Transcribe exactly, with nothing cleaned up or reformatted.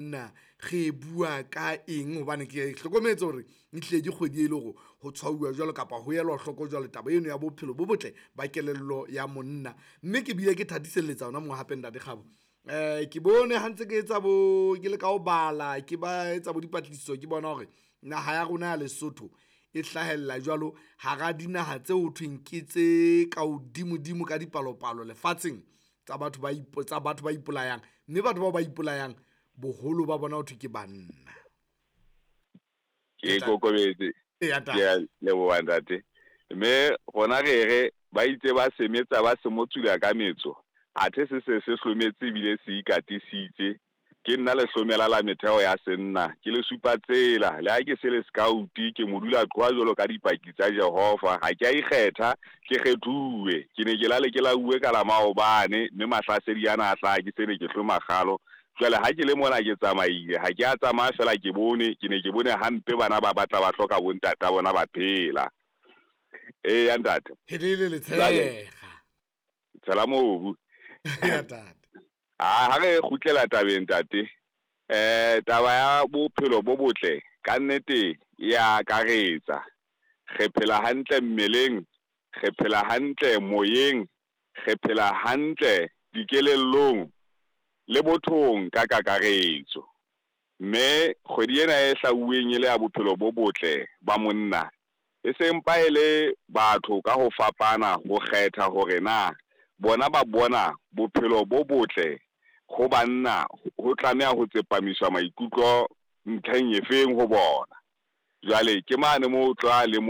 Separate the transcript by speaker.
Speaker 1: Banna re bua ka eng, hobane ke hlokometse hore ehlile ke kgwedi e le hore ho tshwauwa jwalo kapa ho elwa hloko jwalo taba eno ya bophelo bo botle ba kelello ya monna. Mme ke bile ke thatiselletsa hona moo hape Ntate Kgabo, um ke bone ha ntse ke etsa bo ke leka ho bala ke ba etsa bo dipatlisiso, ke bona hore naha ya rona ya Lesotho e hlahella jwalo hara dinaha tse ho thweng ke tse ka hodimodimo ka dipalopalo lefatsheng tsa batho ba tsa batho ba ipolayang, mme batho bao ba ipolayang boholo ba bona ho thwe ke banna.
Speaker 2: Ke kokobetse. Ke a leboha ntate. Mme rona re re ba itse ba semetsa ba se motsula ka metso, athe se se se hlometse ebile se ikatisitse. Ke nna lehlomela la metheo ya senna, ke le supa tsela. Le ha ke se le scout, ke modula qhowa jwalo ka dipaki tsa Jehova. Ha ke a ikgetha, ke kgethuwe. Ke ne ke lale ke lauwe ka la maobane, mme mahlasedi ana a hlaha ke se ne ke hloma kgalo. Jwale ha ke le mona ke tsamaile, ha ke a tsamaya fela ke bone, ke ne ke bone hampe bana ba batla ba hloka bontata bona ba phela. Eya ntate.
Speaker 1: Helele letshega.
Speaker 2: Tshela mobu.
Speaker 1: Ya ntate.
Speaker 2: Ha re kgutlela tabeng ntate, eh taba ya bophelo bo botle ka nnete ya akaretsa. Re phela hantle mmeleng, re phela hantle moyeng, re phela hantle dikelellong le bothong ka kakaretso. Mme kgwedi ena e hlauweng e le ya bophelo bo botle ba monna, e se mpa e le batho ka ho fapana ho kgetha hore na bona ba bona bophelo bo botle ho banna ho tlameha ho tsepamiswa maikutlo ntlheng efeng ho bona. Jwale ke mane moo o tla lemoha